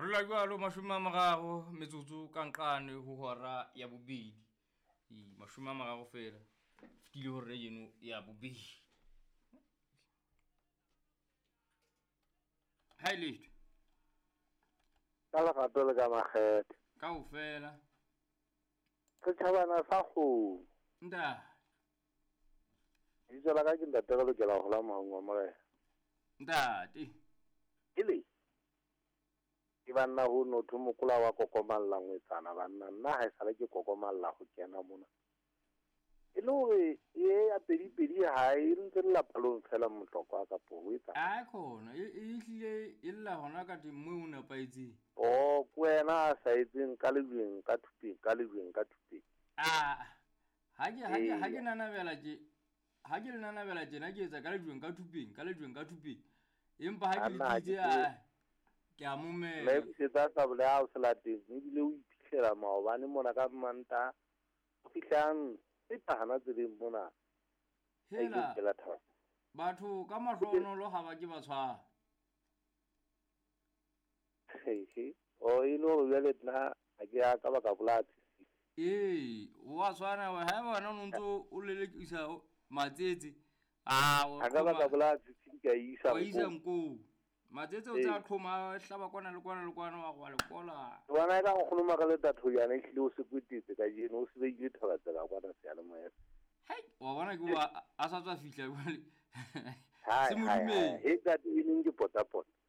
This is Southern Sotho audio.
Re la jwalo 30 metsotso ka nqane ho hora ya bobedi. Ee, 30 fela. Fetile hora eno ya bobedi. Ha e letho. Ka lerato le ka makgethe. Kaofela. Setjhabana sa kgomo. Ntate. Lebitso la ka ke ntate re lokela ho hola mohong wa morena. Ntate. Ele. Ke banna ho notho mokola wa kokomalla ngwetsana banna nna ha esale ke kokomalla ho kena mona. E le hore e ya pedi pedi ha e ntse le lapalong fela mohlokwa kapo ho etsa. A khona e hlile e lla hona ka teng moo o nepahetseng. Oh, ke wena a sa etseng ka lejweng ka thupeng ka lejweng ka thupeng. Ah. Ha ke nanabela tje. Ha ke le nanabela tjena ke etsa ka lejweng ka thupeng ka lejweng ka thupeng. Empa ha ke le titse a ke a momela. Le busetsa sabole ha o se lateng ebile o iphihlela maobane mona ka Manta. O fihlang e phahana tseleng mona. Hela. Batho ka mahlonolo ha ba ke ba tshwana. He. O e no jwale nna ha ke ya ka baka bolaya. Ee, wa tshwana wa ha bona o ntso o lelekisa matsetse. Ah, o ka baka bolaya tsitsi ka isa. Wa isa nko. Matsetse o tsa qhoma hlaba kwana le kwana le kwana wa go lekola. Bona ka go khuluma ka le tatho yana ehlile o se kwetetse ka jeno o se beile thaba tsela kwana seyalemoya. Hai, wa bona ke wa a sa tswa fihla jwale. Se modumeng. He ka teng ke pota pota.